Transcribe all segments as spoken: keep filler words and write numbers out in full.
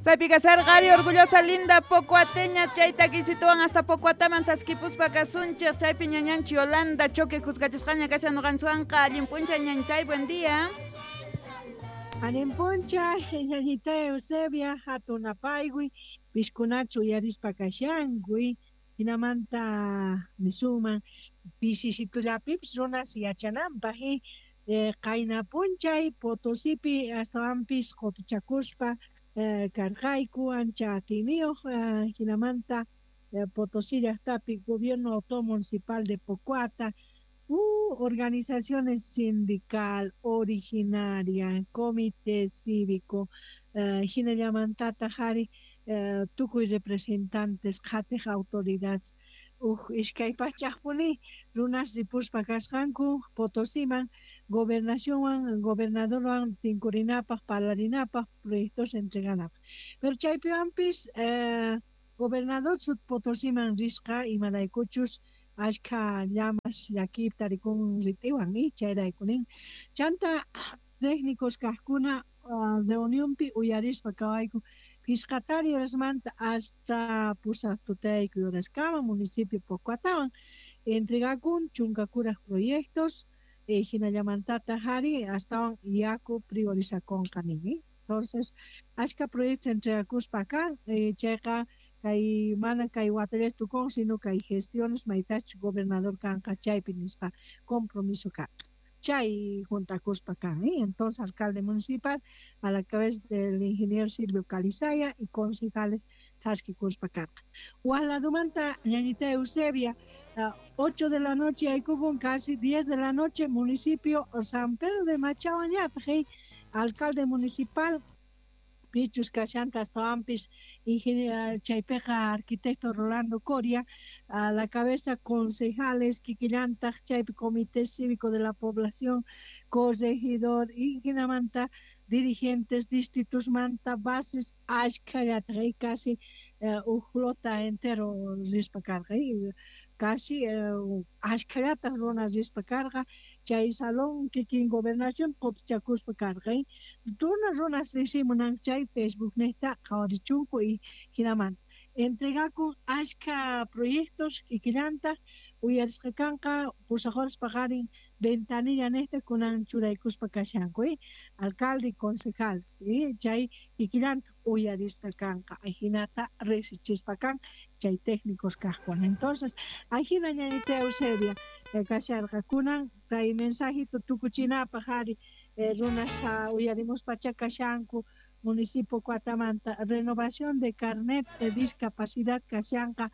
Chaypi kasarqa ari orgullosa linda Pocuateña chayta kisituwan hasta Pocuataman taskipuspa kasunchik chaypi ñañanchik Yolanda Choque juzgachisqaña kashan ñuqanchikwanqa. Allin p'unchay, ñañitay, buen día. Allin p'unchay, ñañita Eusebia, hatun apaykuy, piskunachu uyarispa kashankuy, hinamanta nisuman pisisitullapipis runas yachananpaq eh, qayna p'unchay Potosipi astawanpis qutuchakuspa eh, karqayku ancha atiyniyuq eh, hinamanta eh, Potosí llaqtapi Gobierno Autónomo Municipal de Pocoata, uh, organizaciones sindical, originaria, comité cívico, eh, hinallamantataq ari eh, tukuy representantes qhatiq autoridades uj iskay pachaqpuni runas ripuspa kasqanku Potosiman gobernacionwan gobernadorwan tinkurinapaq parlarinapaq proyectos entreganapaq. Pero chaypiwanpis eh, gobernador sut Potosiman risqa imaraykuchus ashkha llamas llakiypi tarikun rit'iwan y chayraykunin chanta técnicos kaqkuna uh, reunionpi uyarispa kawayku phisqatari horasmanta hasta pusaq tutaykuy horaskama municipio Pocuatawan entregakun chunka kuraq proyectos eh, hinallamantataq ari astawan yaku priorizakonqa nin eh? Entonces ashka proyectos entregakuspa kan eh, chayqa kay mana kay watallachu tukun sino kay gestiones maytachus gobernador kanqa chaypi nispa compromiso kanqa chay juntakuspa kan ¿eh? Entonces alcalde municipal a la cabeza del ingeniero Silvio Calizaya y concejales thaskikuspa kanqa. Waj ñañita Eusebia, uh, ocho de la noche aykupun casi diez de la noche municipio San Pedro de Machahuañataq ¿eh? Alcalde municipal pichus kashanta astawanpis ingeniero chaypiqa arquitecto Rolando Coria a la cabeza concejales kikillantaq chaypi comité cívico de la población corregidor y hinamanta dirigentes distritos manta bases ashkhallataq casi eh, uj flota entero rispa karqa casi eh, ashkhallataq runa rispa karqa chay salón kikin gobernación qutuchakuspa karqa runa runas risimunan chay Facebook niqta qhawarichunku y hinamanta entregakun ashkha proyectos kikillantaq uyarisqa kanqa pusaq horas paqarin ventanilla niqta kunan churaykuspa kashanku eh? Alcalde y concejales eh? Chay kikillantaq uyarisqa kanqa ajinata riqsichispa kan chay técnicos kaqkuna. Entonces ajina ñañita Eusebia eh, kasharqa kunan kay mensajito tukuchinapaq ari eh, runasqa uyarimuspacha kashanku municipio Cuatamanta renovación de carnet de discapacidad kashanqa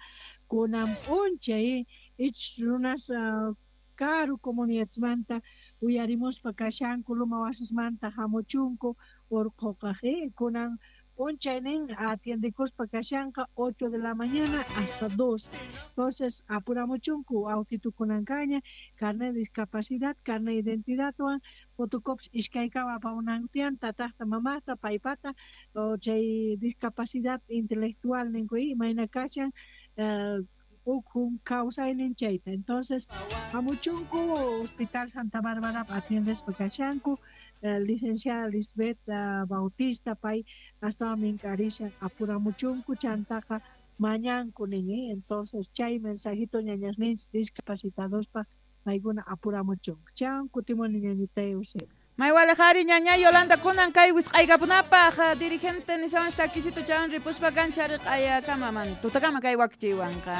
kunan p'unchay ich runas uh, karu comunidadesmanta uyarimuspa kashanku luma wasismanta hamuchunku urquqaq eh? Kunan p'unchaynin atiendekuspa kashanqa ocho de la mañana hasta dos. Entonces apuramuchunku autitukunankaña carnet de discapacidad, carnet de identidadwan fotocopias iskaykama apamunanku tiyan tataqta mamaqta paypata o chay discapacidad intelectual ninku imayna kashan uh, ukhun kawsaynin chayta. Entonces hamuchunku Hospital Santa Bárbara atiendespa kashanku eh, licenciada Lisbeth uh, Bautista pay astawan minkarishan apuramuchunku chantaqa mañanku nin eh? Entonces chay mensajito ñañasninchis discapacitadospaq paykuna apuramuchunku chan kutimuni ñañita Eusebia. Maywalejari ñaña Yolanda kunan kay wisq'aykapunapaq dirigente nisawan takisito chan ripuspa kanchariq ayakamaman tutakama kay wakchiwanqa.